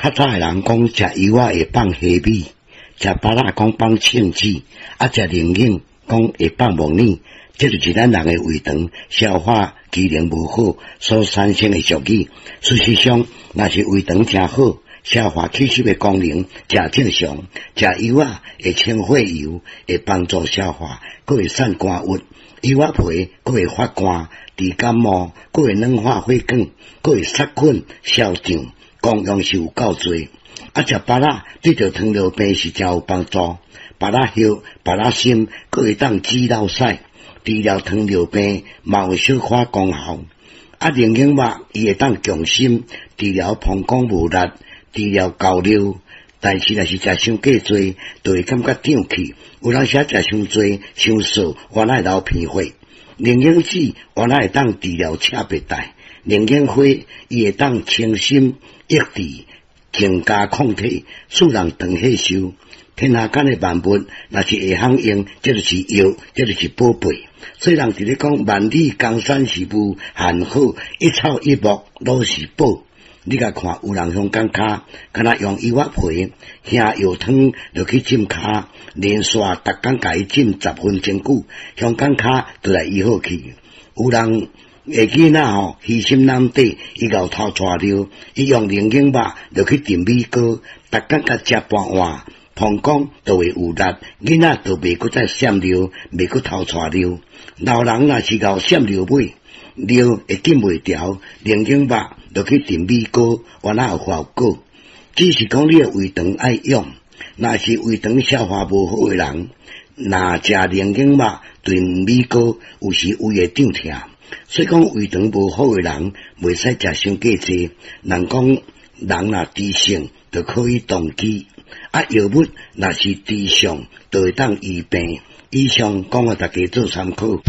較早的人講食柚仔會放蝦米，食芭樂講放蛏子，啊食龍眼講會放木耳，這就是咱人的胃腸消化機能無好所產生的俗語。事實上，若是胃腸誠好，消化吸收的功能誠正常，食柚仔會清血油，會幫助消化，閣會散肝鬱；柚仔皮閣會發汗，治感冒，閣會軟化血管，閣會殺菌消脹，功用是有夠濟。啊，食芭樂對著糖尿病是誠有幫助。芭樂葉、芭樂心，閣會當止落屎，治療糖尿病嘛有小可功效。啊，龍眼肉伊會當強心，治療膀胱無力，治療高尿。但是若是食傷過濟，就會感覺脹氣。有當時食傷濟、傷燥，原來會流鼻血。龍眼籽原來會當治療赤白帶。龍眼花伊會當清心益智，增加抗體，使人長歲壽。天下間的萬物，若是會曉用，這就是藥，這就是寶貝。所以人佇咧講萬里江山是無限好，一草一木攏是寶。你共看，有人鄉港跤，敢若用柚仔皮瓦藥湯落去浸跤，連續逐工共伊浸10分鐘久，鄉港跤就來醫好去。有人的囡仔吼，虛心囊底，伊𠢕偷帶尿，伊用龍眼肉落去燉米糕，逐工共食半碗，膀胱就會有力，囡仔就袂閣再閃尿，袂閣偷帶尿。老人若是𠢕閃尿尾，尿會禁袂牢，龍眼肉落去燉米糕，原來有效果。只是講你的胃腸愛勇，若是胃腸消化無好的人，若食龍眼肉燉米糕，有時胃會脹疼。所以講胃腸無好的人，袂使食傷過濟。人講人若知性，就可以動機；啊，藥物若是治上，就會當醫病。以上講予大家做參考。